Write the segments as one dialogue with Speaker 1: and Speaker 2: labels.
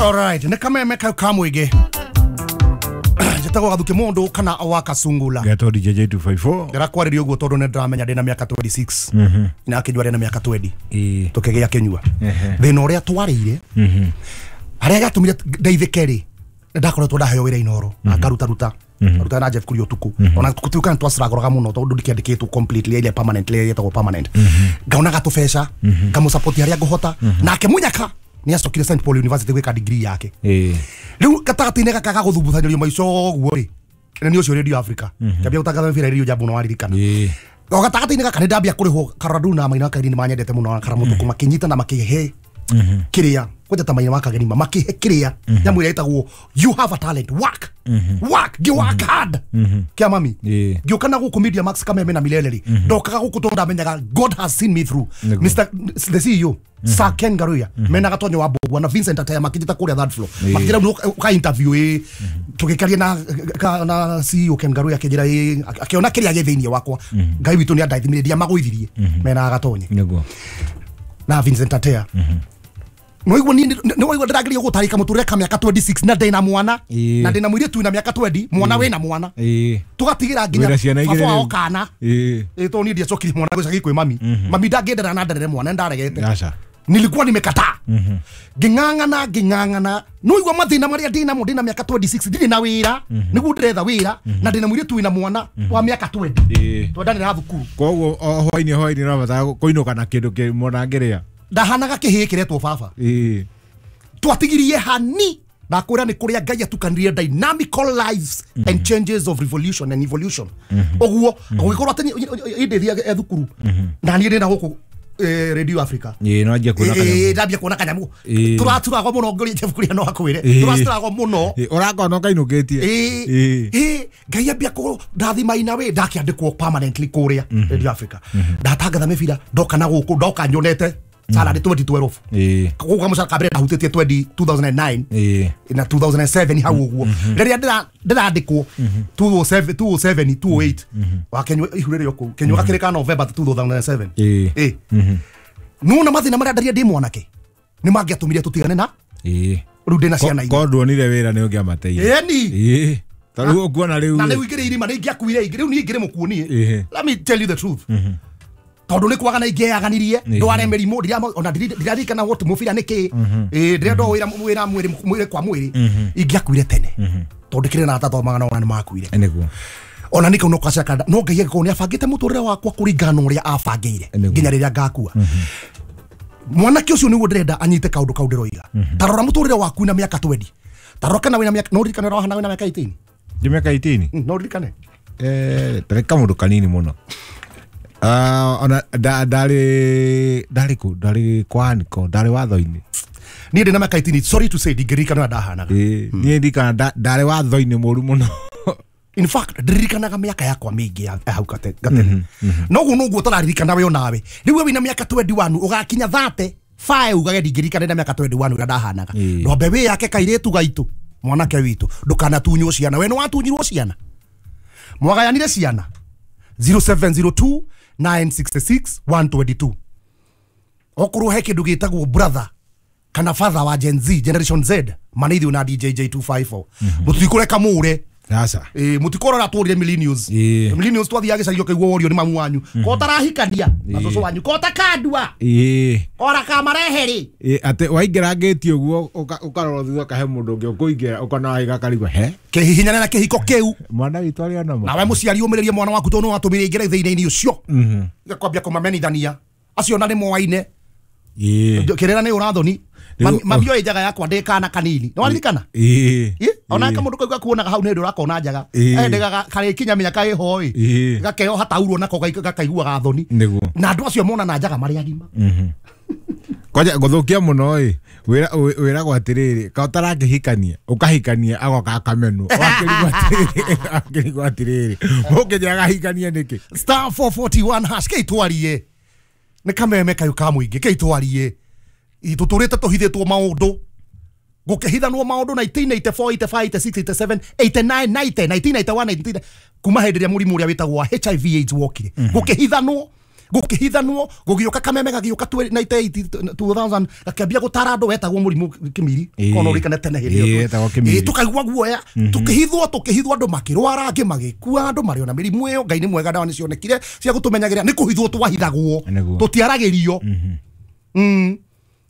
Speaker 1: Alright, nĩ kameme kau ka mũingĩ. Njĩtagwo Gathuki Mũndũ kana wa Kasungula.
Speaker 2: Getwo DJ J254.
Speaker 1: Ndĩrakwarĩria ũguo tondũ nĩ ndĩramenya ndĩna mĩaka 26 na akĩnyua ndĩna mĩaka 20.
Speaker 2: Ĩĩ.
Speaker 1: Tũkĩgĩa kĩnyua.
Speaker 2: Ehe.
Speaker 1: Thĩna ũrĩa twarĩire harĩa gatũmire ndeithĩke rĩ, nĩ ndakoretwo ndaheo wĩra Inoro na ngarutaruta ruta na Jeff Kuria ũtukũ, ona gũtuĩka nĩ twaciragũraga mũno tondũ ndikĩandĩkĩtwo completely ile permanently ĩtagwo permanent, ngaonaga tũbeca ngamũsupport harĩa ngũhota. Nake Munyaka nĩ acokire St Paul University gwĩka degree yake.
Speaker 2: Ĩĩ.
Speaker 1: Rĩu gatagatĩ-inĩ gaka ga gũthumbucanĩrio maica ũguo rĩ, na nĩ ũcio Radio Africa ngĩambia gũtangatha mĩbira Radio Jambo, no waririkana.
Speaker 2: Ĩĩ.
Speaker 1: O gatagatĩ-inĩ gaka nĩ ndambia kũrĩhwo. Karadu na Maina Kageni nĩ manyendete mũno na Karamũtũkũ makĩnyita na makĩhe kĩrĩa kwanja ta Maina wa Kageni makĩhe kĩrĩa nyamũ ĩrĩa ĩtagwo "You have a talent, work, work." Ngĩ work hard kĩa mami.
Speaker 2: Ĩĩ.
Speaker 1: Ngĩũka na gũkũ Media Max Kameme na Milele rĩ, ndokaga gũkũ tondũ ndamenyaga God has seen me through.
Speaker 2: Nĩguo.
Speaker 1: Mr the CEO Sir Ken Garuya mena Gatonyo wa Mbogua na Vincent Ataya makĩnjĩta kũrĩa third floor, makĩnjĩra ũka interview ĩ tũgĩkaria na CEO Ken Garuya, akĩnjĩra ĩ akĩona kĩrĩa gĩ thĩinĩ wakwa. Ngai witũ nĩ andathimire, ndiamagũithirie mena Gatonye
Speaker 2: Nĩguo.
Speaker 1: na Vincent Atea. Nĩwaigua niĩ nĩwaigua ndĩrageria gũtarĩka mũtũrĩre ka mĩaka 26 na ndĩna mwana
Speaker 2: Ĩĩ.
Speaker 1: na ndĩna mũirĩtu wĩna mĩaka 20, mwana wĩna mwana,
Speaker 2: Ĩĩ.
Speaker 1: tũgatigĩra nginya
Speaker 2: Wĩna ciana igĩrĩ
Speaker 1: baba wao
Speaker 2: rĩu.
Speaker 1: kana.
Speaker 2: Ĩĩ.
Speaker 1: Ĩ tondũ niĩ ndiacokirie mwana gĩcagi kwĩ mami. Mami ndangĩendera na nderere mwana, ndaregete.
Speaker 2: Aca.
Speaker 1: Nilikuwa nimekataa, ngĩng'ang'ana ngĩng'ang'ana. Nĩwaigua mathĩna marĩa ndĩnamo ndĩna mĩaka 26, ndirĩ na wĩra, nĩguo ndĩretha wĩra, na ndĩna mũirĩtu wĩna mwana wa mĩaka 20.
Speaker 2: Ĩĩ.
Speaker 1: Twendanĩra thukuru.
Speaker 2: Koguo o hwainĩ ũrabatara kũinũka na kĩndũ kĩ mwana angĩrĩa.
Speaker 1: Ndahanaga kĩhĩĩ kĩretwo baba.
Speaker 2: Ĩĩ.
Speaker 1: Twatigirie hani ndakwĩra nĩ kũrĩa Ngai atukanirie dynamical lives and changes of revolution and evolution ũguo gũgĩkorwo atĩ ĩndĩ thiage thukuru na niĩ ndĩna gũkũ Radio Africa.
Speaker 2: Ĩĩ, no anjia kuona
Speaker 1: Ĩĩ,
Speaker 2: kanyamũ.
Speaker 1: ndambia kuona kanyamũ.
Speaker 2: Ĩĩ.
Speaker 1: Tũraturagwo mũno ngũria Jeff Kuria no akwĩre.
Speaker 2: Ĩĩ.
Speaker 1: Tũraturagwo mũno.
Speaker 2: Ĩĩ, ũrakona ũkainũkĩtie.
Speaker 1: Ĩĩ.
Speaker 2: Ĩĩ.
Speaker 1: Ĩĩ, Ngai ambia kũ ndathima ina wĩ ndakĩandĩkwo permanently kũrĩa Radio Africa, ndatangatha mĩbira, ndoka na gũkũ ndoka nyonete salary 2012.
Speaker 2: Ĩĩ.
Speaker 1: Gũkũ kamũcara ka mbere ndahutĩtie 20 2009
Speaker 2: Ĩĩ.
Speaker 1: na 2007 hau ũguo rĩrĩa ndĩrandĩkwo 207 207 208 wakenyua ihu rĩrĩ kũu kenyua gakĩrĩ ka November 2007.
Speaker 2: Ĩĩ.
Speaker 1: Ĩ nona mathĩna marĩa ndaria ndĩ mwanake nĩ mangĩatũmire tũtigane na
Speaker 2: Ĩĩ.
Speaker 1: rĩu ndĩna ciana inya.
Speaker 2: Korwo nduonire wĩra nĩ ũngĩamateire.
Speaker 1: Ĩni.
Speaker 2: Ĩĩ. Ta rĩu ũkuona rĩu.
Speaker 1: Na rĩu ingĩrĩ irima nĩ ingĩakuire ingĩ, rĩu niĩ ingĩrĩ mũkuo niĩ.
Speaker 2: Ĩĩ.
Speaker 1: Let me tell you the truth, tondũ nĩ kwaga na ingĩaganirie ndware mĩrimũ ona ndiraririkana what mũbira nĩ kĩ. Ĩĩ, ndĩrenda o wĩra wĩra mwĩrĩ mwĩrĩ kwa mwĩrĩ, ingĩakuire tene tondũ kĩrĩ na atathomaga na ona nĩ makuire.
Speaker 2: Nĩguo.
Speaker 1: Ona nĩkau no kacaka no Ngai angĩkorwo nĩ abangĩte mũtũrĩre wakwa kũringana na ũrĩa abangĩire
Speaker 2: Nĩguo.
Speaker 1: nginya rĩrĩa ngakua. Mwanake ũcio nĩguo ndĩrenda anyite kaũndũ kau ndĩroiga. Ta rora mũtũrĩre waku na mĩaka 20, ta rora kana wĩna mĩaka, no ũririkane ũrĩa wahana wĩna mĩaka 18?
Speaker 2: Ndĩ mĩaka 18.
Speaker 1: No ũririkane?
Speaker 2: Eh, ndarĩ kamũndũ kanini mũno. Ah, ona ndarĩ kũ, ndarĩ kwa Aniko, ndarĩ watho-inĩ.
Speaker 1: Niĩ ndĩ na mĩaka 18, sorry to say, ndingĩririkana ũrĩa ndahanaga.
Speaker 2: Ĩĩ, niĩ ndirikana ndarĩ watho-inĩ mũru mũno.
Speaker 1: In fact, ndiririkanaga mĩaka yakwa mĩingĩ ya hau gatene noguo noguo tũraririkana we onawe. Rĩu we wĩna mĩaka 21 ũgakinya 30 fae ugage ndingĩririkana na mĩaka 21 ũrĩa ndahanaga.
Speaker 2: Ĩĩ.
Speaker 1: Ndwambe wĩ yake kairĩtu gaitũ, mwanake witũ, ndũkanatunywo ciana. We nĩ watunyirwo ciana, mwagayanire ciana. 0702 966 122. Okorwo he kĩndũ gĩtagwo brother kana father wa Gen Z, Generation Z, manĩithiũ na DJ J254, mũtikũreka mũre.
Speaker 2: Aca.
Speaker 1: Ĩ mũtikorora tũrire millennials.
Speaker 2: Ĩĩ.
Speaker 1: Millennials twathiaga gĩcagi ũkaigua worio nĩ mamu wanyu ko tarahikania na cũcũ wanyu ko takandua
Speaker 2: Ĩĩ.
Speaker 1: ora kamarehe rĩ.
Speaker 2: Ĩĩ, atĩ waingĩra ngĩti ũguo ũkarora thutha ũkahe mũndũ ũngĩ ũkũingĩra ũkona waiga karigwo he
Speaker 1: Kĩhihinyane na kĩhiko kĩu.
Speaker 2: Mwana witũ arĩ ona
Speaker 1: Nawe mũciari ũmĩrĩrie mwana waku tondũ nĩwatũmire ingĩre thĩinĩ-inĩ ũcio kwambia kũmamenithania acio na nĩ moaine.
Speaker 2: Ĩĩ.
Speaker 1: Kĩrĩra nĩ ũrathoni.
Speaker 2: Rĩu-
Speaker 1: Mami oĩ njaga yakwa ndĩ kana kanini, nĩwaririkana?
Speaker 2: Ĩĩ.
Speaker 1: Ĩ, ona kamũndũ kau gakuonaga hau nĩ hĩndĩ ũrakona njaga.
Speaker 2: Ĩĩ.
Speaker 1: Ende karĩkinya mĩaka ĩho ĩ
Speaker 2: Ĩĩ.
Speaker 1: gakeoha taurwo nako gakaiguaga thoni.
Speaker 2: Nĩguo.
Speaker 1: Na andũ acio monana njaga marĩ agima.
Speaker 2: Kwanja gũthũkia mũno ĩ wĩragwo atĩrĩrĩ ka ũtarakĩhikania ũkahikania agoka akamenwo wakĩrigwo atĩrĩrĩ wakĩrigwo atĩrĩrĩ mũkĩnjĩra agahikania nĩkĩ.
Speaker 1: *441# kĩitwarie nĩ kameme kayũ ka mũingĩ kĩitwarie. Tũtũrĩte tũhithĩtwo maũndũ, gũkĩhithanwo maũndũ 1984 85 86 87 89 90 1991 19 kuma hĩndĩ ĩrĩa mũrimũ ũrĩa wĩtagwo wa HIV AIDS wokire, gũkĩhithanwo. Gũkĩhithanwo, gũgĩũka kameme gagĩũka 98 2000 gakĩambia gũtara andũ wetagwo mũrimũ kĩmiri.
Speaker 2: Ĩĩ.
Speaker 1: Kono ũrikane tene hĩndĩ
Speaker 2: Ĩĩ,
Speaker 1: ĩyo.
Speaker 2: wetagwo kĩmiri.
Speaker 1: Ĩĩ, tũkaigua guoya, tũkĩhithwo andũ makĩrwara, angĩ magĩkua, andũ marĩ ona mĩrimũ ĩyo. Ngai nĩ mwega, ndawa nĩcionekire cia gũtũmenyagĩrĩra. Nĩ kũhithwo twahithagwo,
Speaker 2: Nĩguo.
Speaker 1: tũtiaragĩrio.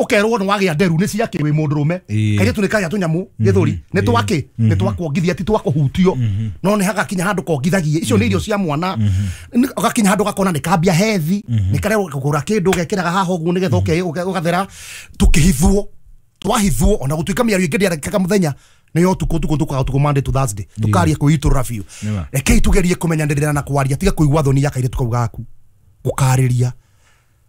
Speaker 1: Ũkerwo nĩ wagĩa nderu nĩ ciakĩ wĩ mũndũrũme.
Speaker 2: Ĩĩ.
Speaker 1: Kairĩtu nĩ kagĩa tũnyamũ gĩthũri nĩ twakĩ, nĩ twakuongithia, ti twakũhutio. No nĩ hagakinya handũ kongithagie icio nĩ irio cia mwana. Gakinya handũ gakona nĩ kambia hethi, nĩ karerwo kũgũra kĩndũ gekĩraga haha ũguo nĩgetha ũgathera. Tũkĩhithwo, twahithwo, ona gũtuĩka mĩario ĩngĩ ndĩarekaga mũthenya nĩ yo ũtukũ, ũtukũ tũkaga ũtukũ Monday to Thursday tũkaria kwĩitũrũra biũ.
Speaker 2: Nĩma.
Speaker 1: Rekei tugerie kũmenyanĩrĩra na kwaria, tiga kũigua thoni ya kairĩtu kau gaku gũkarĩria,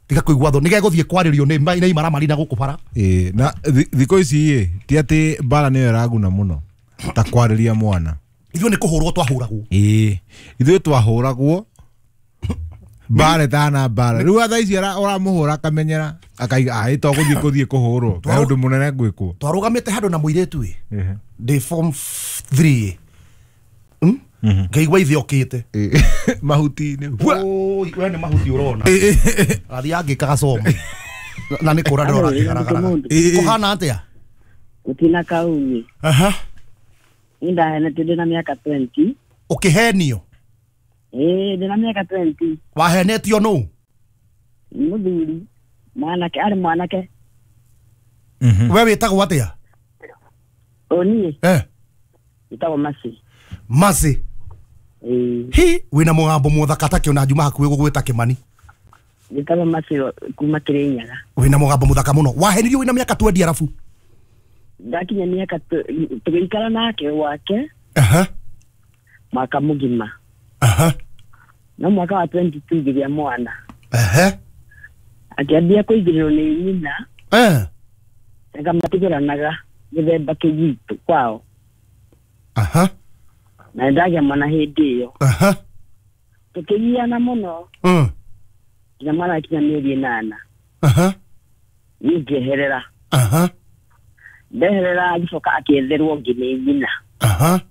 Speaker 1: tiga kũigua thoni nĩgegũthiĩ kwarĩrio nĩ imaramari na gũkũ bara.
Speaker 2: Ĩĩ, na thikũ ici ĩ ti atĩ mbara nĩyo ĩraguna mũno ta kwarĩria mwana.
Speaker 1: Ithuĩ nĩ kũhũrwo twahũragwo.
Speaker 2: Ĩĩ, ithuĩ twahũragwo mbara ĩtana mbara. Rĩu thaa ici ũramũhũra akamenyera akaiga aĩ to gũthiĩ kũthiĩ kũhũrwo kaĩ ũndũ mũnene ngwĩkwo.
Speaker 1: Twarũgamĩte handũ na mũirĩtu ĩ ndĩ form 3 ngaigua ithe okĩte.
Speaker 2: Ĩĩ, mahuti-inĩ. Hua!
Speaker 1: Oi, we nĩ mahuti ũrona athiĩ angĩka gacoma na nĩ kũra ndĩrona akĩgaragaraga. Kũhana atĩa?
Speaker 3: Gũtina kaumi.
Speaker 1: Aha.
Speaker 3: Niĩ ndahenetio ndĩna mĩaka 20.
Speaker 1: Ũkĩhenio?
Speaker 3: Ĩĩ, ndĩna mĩaka 20.
Speaker 1: Wahenetio nũ?
Speaker 3: Nĩ mũthuri mwanake, arĩ mwanake.
Speaker 1: We wĩtagwo atĩa?
Speaker 3: O niĩ
Speaker 1: Eh.
Speaker 3: njĩtagwo Mercy.
Speaker 1: Mercy.
Speaker 3: Ĩĩ.
Speaker 1: Hi, wĩna mũgambo mũthaka ta kĩona njuma hakuhĩ gũgwĩta Kĩmani.
Speaker 3: Njĩtagwo Mercy kuma Kĩrĩnyaga.
Speaker 1: Wĩna mũgambo mũthaka mũno. Wahenirio wĩna mĩaka 20 arabu?
Speaker 3: Ndakinya mĩaka tũgĩikara nake gwake.
Speaker 1: Aha.
Speaker 3: Mwaka mũgima.
Speaker 1: Aha.
Speaker 3: No mwaka wa 22 ngĩgĩa mwana.
Speaker 1: Aha.
Speaker 3: Akĩambia kũigĩrĩrwo nĩ nyina.
Speaker 1: Eh.
Speaker 3: Akamatigĩranaga gĩthemba kĩu gitũ kwao.
Speaker 1: Aha.
Speaker 3: Na nĩndagĩa mwana hĩndĩ ĩyo.
Speaker 1: Aha.
Speaker 3: Tũkĩgiana mũno. Nginya mwana akinya mĩeri 8.
Speaker 1: Aha.
Speaker 3: Niĩ ngĩeherera.
Speaker 1: Aha.
Speaker 3: Ndeherera agĩcoka akĩetherwo ũngĩ nĩ nyina.
Speaker 1: Aha.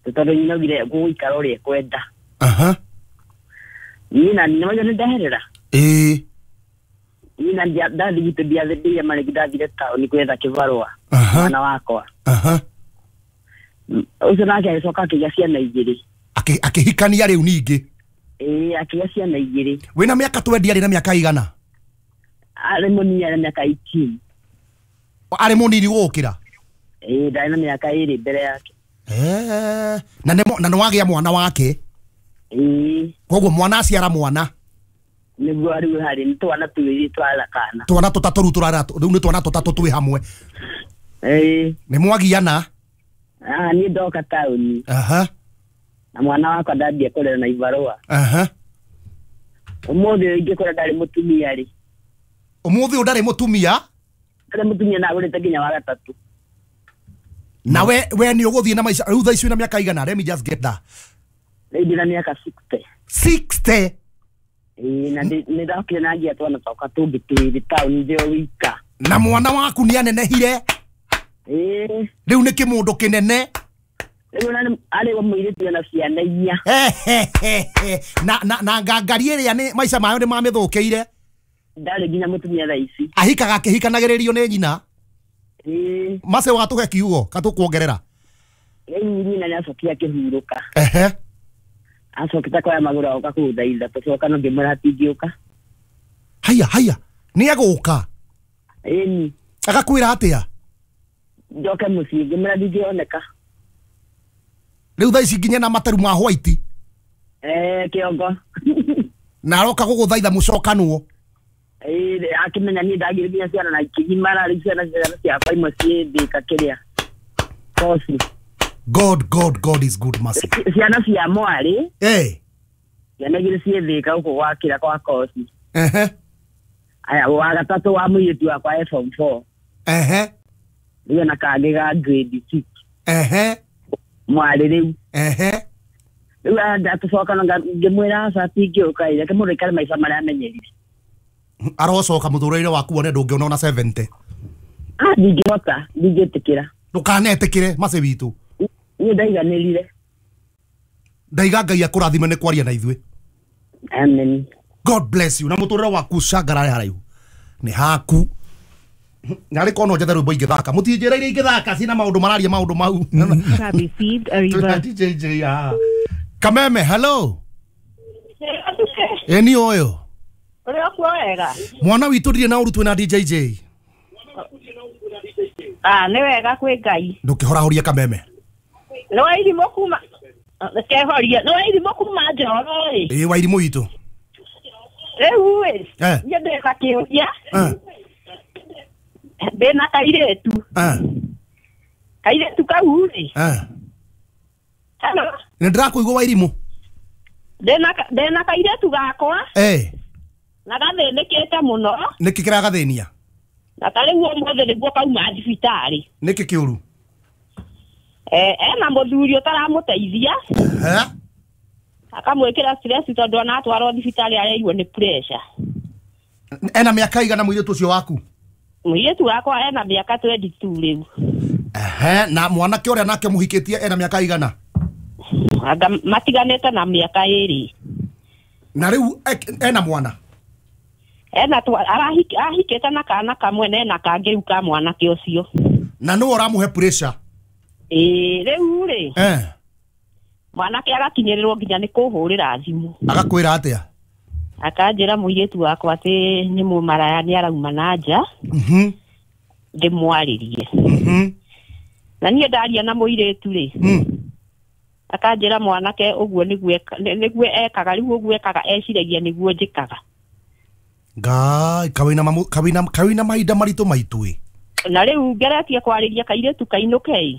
Speaker 3: Tondũ nyina augire gũgũikara ũrĩa ekwenda.
Speaker 1: Aha.
Speaker 3: Nyina nĩwauga nĩndeherera?
Speaker 1: Ĩĩ.
Speaker 3: Nyina ndathiĩ gwitũ ndiathĩndĩire marĩhi, ndathire taũni gwetha kĩbarũa.
Speaker 1: Aha.
Speaker 3: Mwana wakwa.
Speaker 1: Aha.
Speaker 3: Ũcio nake agĩcoka akĩgĩa ciana igĩrĩ.
Speaker 1: Akĩhikania rĩu ningĩ?
Speaker 3: Ĩĩ, akĩgĩa ciana igĩrĩ.
Speaker 1: Wĩna mĩaka 20 arĩ na mĩaka igana?
Speaker 3: Arĩ mũnini, arĩ mĩaka 18.
Speaker 1: Arĩ mũnini gũgũkĩra?
Speaker 3: Ĩĩ, ndarĩ na mĩaka 2 mbere yake.
Speaker 1: Eh, na nĩ wagĩa mwana wake?
Speaker 3: Ĩĩ.
Speaker 1: Koguo mwana aciara mwana?
Speaker 3: Nĩguo rĩu harĩ nĩ twana twĩrĩ twarera kana.
Speaker 1: Twana tũtatũ rĩu tũrarera, rĩu nĩ twana tũtatũ twĩ hamwe.
Speaker 3: Ĩĩ.
Speaker 1: Nĩ mwagiana?
Speaker 3: Ah, niĩ ndoka taũni.
Speaker 1: Aha.
Speaker 3: Na mwana wakwa ndambia kũrera na ibarũa.
Speaker 1: Aha.
Speaker 3: Ũmũthĩ ingĩkora ndarĩ mũtumia rĩ.
Speaker 1: Ũmũthĩ ũyũ ndarĩ mũtumia?
Speaker 3: Ndarĩ mũtumia na agũrĩte nginya wa gatatũ.
Speaker 1: Na we nĩ ũgũthiĩ na maica rĩu thaa ici wĩna mĩaka igana? Let me just get that.
Speaker 3: Rĩu ndĩna mĩaka 60.
Speaker 1: 60?
Speaker 3: Ĩĩ, na nĩ ndokire na ngĩa twana twakwa tũngĩ twĩrĩ taũni ndĩ o wika.
Speaker 1: Na mwana waku nĩ anenehire?
Speaker 3: Ĩĩ.
Speaker 1: Rĩu nĩ kĩmũndũ kĩnene?
Speaker 3: Rĩu arĩ wa mũirĩtu ena ciana inya.
Speaker 1: Na ngangari ĩrĩa nĩ maica mayo nĩ mamĩthũkĩire?
Speaker 3: Ndarĩ nginya mũtumia thaa ici.
Speaker 1: Ahikaga akĩhikanagĩrĩrio nĩ nyina?
Speaker 3: Ĩĩ.
Speaker 1: Mace watũhe kiugo katũkuongerera.
Speaker 3: Rĩu nyina nĩacokire akĩhurũka.
Speaker 1: Ehe.
Speaker 3: Acokete kuoya magũrũ agoka kũthaitha tũcoka no ngĩmwĩra hatingĩũka.
Speaker 1: Haya, haya. Nĩ egũka?
Speaker 3: Ĩni.
Speaker 1: Agakwĩra atĩa?
Speaker 3: Njoke mũciĩ ngĩmwĩra ndingĩoneka.
Speaker 1: Rĩu thaa ici nginya na materu ma white?
Speaker 3: Eh, kĩongo.
Speaker 1: Na aroka gũgũthaitha mũcokanwo?
Speaker 3: Ĩĩ, akĩmenya niĩ ndagire nginya ciana na ikĩgimara, rĩu ciana ciakwa imwe ciĩ Thika kĩrĩa. Koci.
Speaker 1: God, God, God is good, mercy.
Speaker 3: Ciana cia mwarĩ.
Speaker 1: Eh.
Speaker 3: Ciana igĩrĩ ciĩ Thika gũkũ gwakĩra kwa Koci.
Speaker 1: Ehe.
Speaker 3: Aya, wa gatatũ wa mũirĩtu wakwa e form 4.
Speaker 1: Ehe.
Speaker 3: Rĩu ena kangĩ ga grade 6.
Speaker 1: Ehe.
Speaker 3: Mwarĩ rĩu.
Speaker 1: Ehe.
Speaker 3: Rĩu ndatũcoka ngĩmwĩra aca tingĩũka ĩ, reke mũndũ aikare maica marĩa amenyerire.
Speaker 1: Arocoka mũtũrĩre waku wone ndũngĩona ona 70.
Speaker 3: Ah, ndingĩhota, ndingĩtĩkĩra.
Speaker 1: Ndũkanetĩkĩre mace witũ.
Speaker 3: Niĩ ndaiganĩrire.
Speaker 1: Ndaiga Ngai akũrathime nĩ kwaria na ithuĩ.
Speaker 3: Amen.
Speaker 1: God bless you. Na muturire waku cangarare haraihu ni haku. Narĩ korwo no njethe rwĩmbo ingĩthaka mũtinjĩra iria ingĩthaka cina maũndũ mararia maũndũ mau.
Speaker 4: Have received a reverse.
Speaker 1: DJ ah. Kameme, hello. Eni oyo.
Speaker 5: Ũrĩ okuo wega?
Speaker 1: Mwana witũ ndirĩ na ũru twĩna DJJ.
Speaker 5: Ah, nĩ wega kwĩ Ngai.
Speaker 1: Ndũkĩhorahoria Kameme.
Speaker 5: Nĩ wairimũ kuma kehoria, nĩ wairimũ kuma Njoro ĩ.
Speaker 1: Ĩ wairimũ witũ.
Speaker 5: Rĩu ĩ,
Speaker 1: Eh.
Speaker 5: niĩ ndĩ na kĩũria.
Speaker 1: Eh.
Speaker 5: Ndĩ na kairĩtu.
Speaker 1: Eh.
Speaker 5: Kairĩtu kau rĩ.
Speaker 1: Eh.
Speaker 5: Hello.
Speaker 1: Nĩ ndĩrakũigua wairimũ.
Speaker 5: Ndĩ na kairĩtu gakwa.
Speaker 1: Eh.
Speaker 5: Na gathĩnĩkĩte mũno.
Speaker 1: Nĩkĩ kĩragathĩnia?
Speaker 5: Na ta rĩu ũmũthĩ nĩguo kauma thibitarĩ.
Speaker 1: Nĩkĩ kĩũru?
Speaker 5: Ena mũthuri ũtaramũteithia.
Speaker 1: Eh?
Speaker 5: Akamwĩkĩra stress tondũ ona atwarwo thibitarĩ areirwo nĩ pressure.
Speaker 1: Ena mĩaka igana mũirĩtu ũcio waku?
Speaker 5: Mũirĩtu wakwa ena mĩaka 22 rĩu.
Speaker 1: Ehe, na mwanake ũrĩa nake mũhikĩtie ena mĩaka igana?
Speaker 5: Anga matiganĩte na mĩaka ĩrĩ.
Speaker 1: Na rĩu ena mwana?
Speaker 5: Ena ahikĩte na kana kamwe na ena kangĩ rĩu ka mwanake ũcio.
Speaker 1: Na nũũ ũramũhe pressure?
Speaker 5: Ĩĩ, rĩu rĩ.
Speaker 1: Eh.
Speaker 5: Mwanake agakinyĩrĩrwo nginya nĩ kũhũrĩra thimũ.
Speaker 1: Agakwĩra atĩa?
Speaker 5: Akanjĩra mũirĩtu wakwa atĩ nĩ mũmaraya nĩ arauma na nja.
Speaker 1: Mhm.
Speaker 5: Ndĩmwarĩrie.
Speaker 1: Mhm.
Speaker 5: Na niĩ ndaria na mũirĩtu rĩ. Akanjĩra mwanake ũguo nĩguo ekaga rĩu ũguo ekaga eciragia nĩguo njĩkaga.
Speaker 1: Ngai, kawĩna mahinda maritũ maitũ ĩ.
Speaker 5: Na rĩu ngeretie kwarĩria kairĩtu kainũke ĩ.